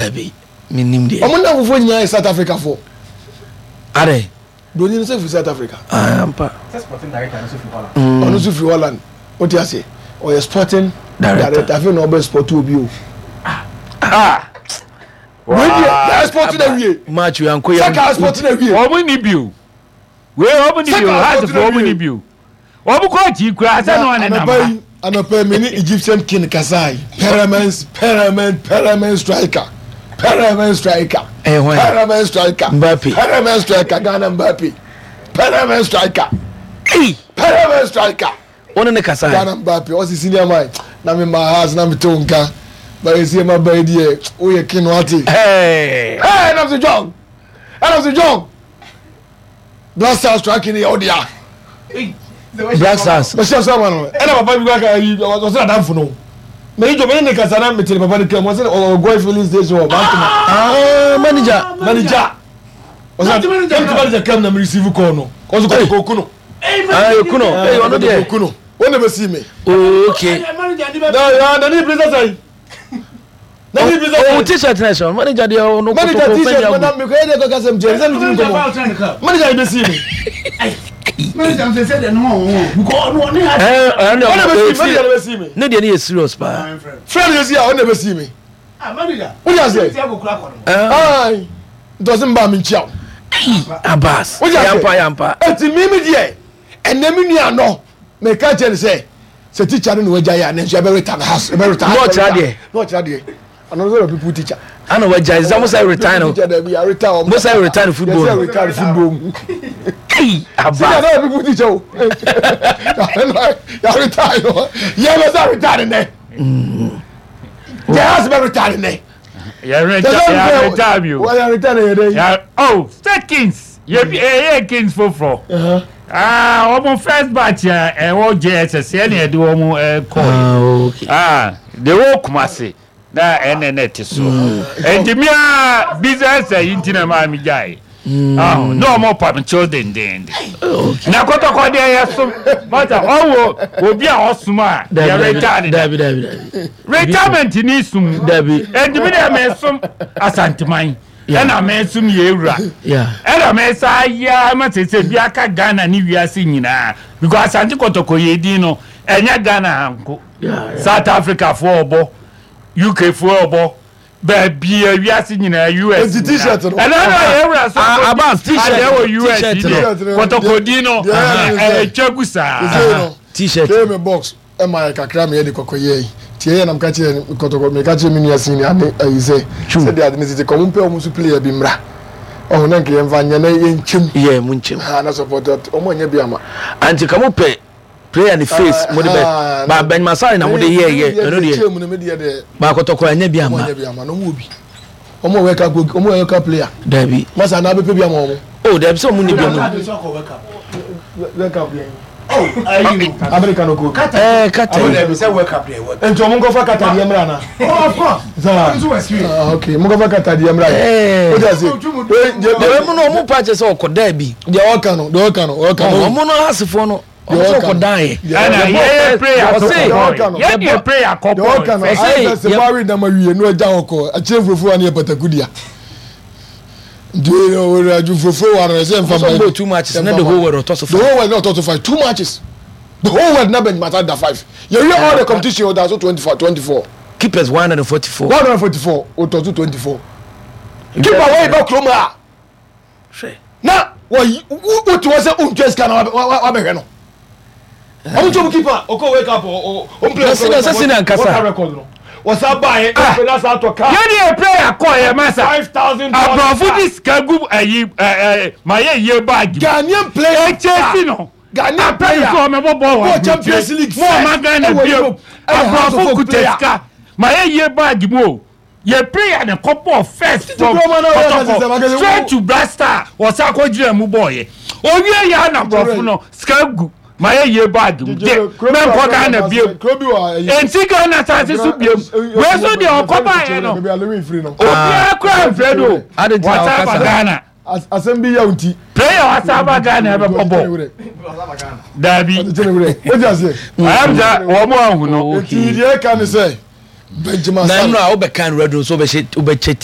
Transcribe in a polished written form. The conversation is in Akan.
Dabi, menim deɛ. Ɔmo nnamfofoɔ nyinaa yɛ South Africa foɔ. Adɛn? Broni no sɛ firi South Africa. Ah, ampa. Sɛ sporting director no nso firi Holland. Ɔno nso firi Holland. Wote aseɛ? Ɔyɛ sporting director. Afei na ɔbɛ sport obi o. Ah! Wei deɛ, yɛ sport na wie. Match wei ankɔ yɛ. Sɛ ka sport na wie. Wɔn ni bi o. Wei wɔn ni bi o. Hearts fo wɔn ni bi o. Wɔn kɔ akyi koraa sɛ na ɔne nam ha. Anɔpa yi me ne Egyptian king kasae. Pyramids, Pyramids, Pyramids striker. Pyramids striker. Ɛyɛ hwan? Pyramids striker. Mbappe. Pyramids striker Ghana Mbappe. Pyramids striker. Ei! Pyramids striker. Wo ne ne kasae? Ghana Mbappe ɔsi senior man na me ma house na me te wo nka. Ba esi ma ba yi deɛ woyɛ king wate. Hey! Hey, ɛnam sɛ John. Ɛnam sɛ John. Black Stars striking yɛ ɔdea. Black Stars. Ɔhyɛ sọ ama no. Ɛna papa bi kɔ aka yi ɔsɛ adamfo no. Mɛ yi jɔ mɛ ne kasa na mɛ tẹ̀lé papa ne kɛ mo ɔsɛ ɔgɔ filling station wɔ Bantama. Ah, manager. Manager. Ɔsɛ ɛna manager kɛm na mi receive call no. Ɔsɛ kɔ kɔ kuno. Ah, kuno. Ee ɔno deɛ. Kuno. Wɔn na bɛ si mi. Oh, okay. Na ya na ni bisa sɛyi. Ohun t-shirt na ɛhyɛ manager deɛ ɔno manager kotoko t-shirt fɛn na mekɔ yɛ deɛ kɔka sɛm kyerɛ sɛ metumi nkɔmmɔ manager yɛ bɛsii me ɔna bɛsii manager na bɛsii me ne deɛ ne yɛ serious paa frɛ no yɛsi a ɔna bɛsii me wode aseɛ ai nti ɔse mbaa menkyia wo Abbas wode aseɛ yampa yampa ɛti me me deɛ ɛnɛ me nua no meka kyerɛ no sɛ sɛ teacher no na wagya yɛ a nanso yɛbɛ retire house yɛbɛ retire na ɔkyerɛ adeɛ na ɔkyerɛ adeɛ ɔno nso yɛ people teacher ana wagya sɛ mo sɛ retire no teacher dɛbi yɛ retire wɔn mo sɛ retire football yɛ sɛ retire football mu ei aba senior na yɛ people teacher o yɛ retire no yɛ bɛ sɛ retire nɛ yɛ house bɛ retire nɛ yɛ retire bi o yɛ retire yɛ dɛ oh state kings yɛ bi ɛyɛ kings foforɔ. Ah, wɔn first batch a ɛwɔ JSS ɛna ɛde wɔn kɔɔ. Ah, de wɔ Kumasi na ɛna ɛna ɛte so. Nti mi a business ɛyi nti na maa mi gya yi. Na wɔn pa mi kyɛw dendenden. Na kɔtɔkɔ deɛ yɛ som mata ɔwɔ obi a ɔsom a yɛ retire ne da. Dabi dabi dabi. Retirement ni sum. Dabi. Nti mi deɛ mi som Asanteman. Ɛna me nso meyɛ ewura. Ɛna me saa yɛ ama sese bi aka Ghana ne wiase nyinaa because Asante Kɔtɔkɔ yɛ din no ɛnyɛ Ghana ha nko. South Africa foɔ ɔbɔ, UK foɔ ɔbɔ, baabi a wiase nyinaa US nyinaa. Ɛna na yɛ ewura so Abbas t-shirt adeɛ wɔ US yi deɛ Kɔtɔkɔ din no ɛtwa gu saa. T-shirt. Ɛma yɛ kakra ma yɛde kɔkɔ yɛe. Nti ɛyɛ na meka kyerɛ kɔtɔkɔ meka kyerɛ me nua senior ne ayi sɛ sɛdeɛ ade no sisi kɔ ɔmo mpɛ ɔmo nso player bi mmra ɔho na nka yɛmfa nyɛ na yɛnkyɛm. Yɛ mo nkyɛm. Ha na support ɔmo anyɛ bi ama. Anti ka mo pɛ player ne face mo de bɛ ba Benjamin Asare na mo de yɛ yɛ ɛno deɛ ba kɔtɔkɔ anyɛ bi ama. Ɔmo anyɛ bi ama na ɔmo wɔ bi. Ɔmo wɔ World Cup ɔmo wɔ World Cup player. Dabi. Masa na abɛpɛ bi ama ɔmo. Oh dabi sɛ ɔmo ni bi ɔmo. World Cup yɛn. America no ko. Ɛɛ Qatar. Ɔmo dabi sɛ World Cup deɛ World Cup. Nti ɔmo nkɔfa Qatar deɛ mìíràn na. Oh of course. Saa. Ɔmo nso wɔ experience. Ah okay mo nkɔfa Qatar deɛ mìíràn. Ɛɛ. O ti ase. Deɛ ɔmo no ɔmo pa kyɛ sɛ ɔkɔ daa bi. Deɛ ɔka no deɛ ɔka no ɔka no. Ɔmo no asefoɔ no. Ɔmo sɛ ɔkɔ daa yɛ. Ɛna yɛyɛ prayer so kɔ bɔɔl. Yɛdeɛ prayer kɔ bɔɔl. Deɛ ɔka no ayɛ sɛ sɛ wɔawe nam awie no agya hɔ kɔ akyerɛ nkurɔfoɔ wa ne yɛ pataku dea. Nti ɔwɔ fufuo wa no ɛsɛ nfa ma. Ɔsɔ two matches na the whole world ɔtɔ so five. The whole world na ɔtɔ so five two matches the whole world na Benjamin Asare da five yɛwie all the competition ɔda so 24 24. Keepers 144. 144 ɔtɔ so 24. Keeper wɔyi bɛ kurom a. Hwɛ. Na wɔyi wote hɔ sɛ wontua sika na wabɛhwɛ no. Ɔmo tí ɔmo keeper ɔkɔ wake up ɔmo play. Na sɛ senior nkasa. Record no. Wɔsa ba yɛ ɛfɛ na sa atɔ kaa. Yɛn yɛ prayer kɔ yɛ masa. $5,000. Aborɔfo di sika gu ɛyi ɛɛ ma yɛ yie baagi. Ghanaian player. Ɛkyɛ si no. Ghanaian player. Apɛ nso ɔmɛ bɔ bɔɔl wɔ Bɔ Champions League Mo ɔma Ghana ɛwɔ bio. Europe. Ɛyɛ House of Aborɔfo Oak kuta player. sika ma yɛ yie baagi mu o. Yɛ prayer ne kɔ bɔɔl first from kuroma na ɔyɛ Kɔtɔkɔ kasa sɛ, straight to Black Star wɔsan kɔ gyina mu bɔɔl yɛ. Owie yɛ ana aborɔfo no sika gu ma yɛ yie baagi mu de mɛnkɔ Ghana bio. Nti Ghana asase so biom. Wei so deɛ ɔkɔ baeɛ no obiara kura mfrɛ no wɔsan ba Ghana. Asɛm bi yɛ nti. Prayer wasan ba Ghana ɛbɛbɔ bɔɔl. Daabi. Ayam sɛ wɔn ahu no. Nti deɛ ɛka ne sɛ Benjamin Na Asare. nnora wobɛka no radio nso wobɛhyɛ wobɛkyɛ t.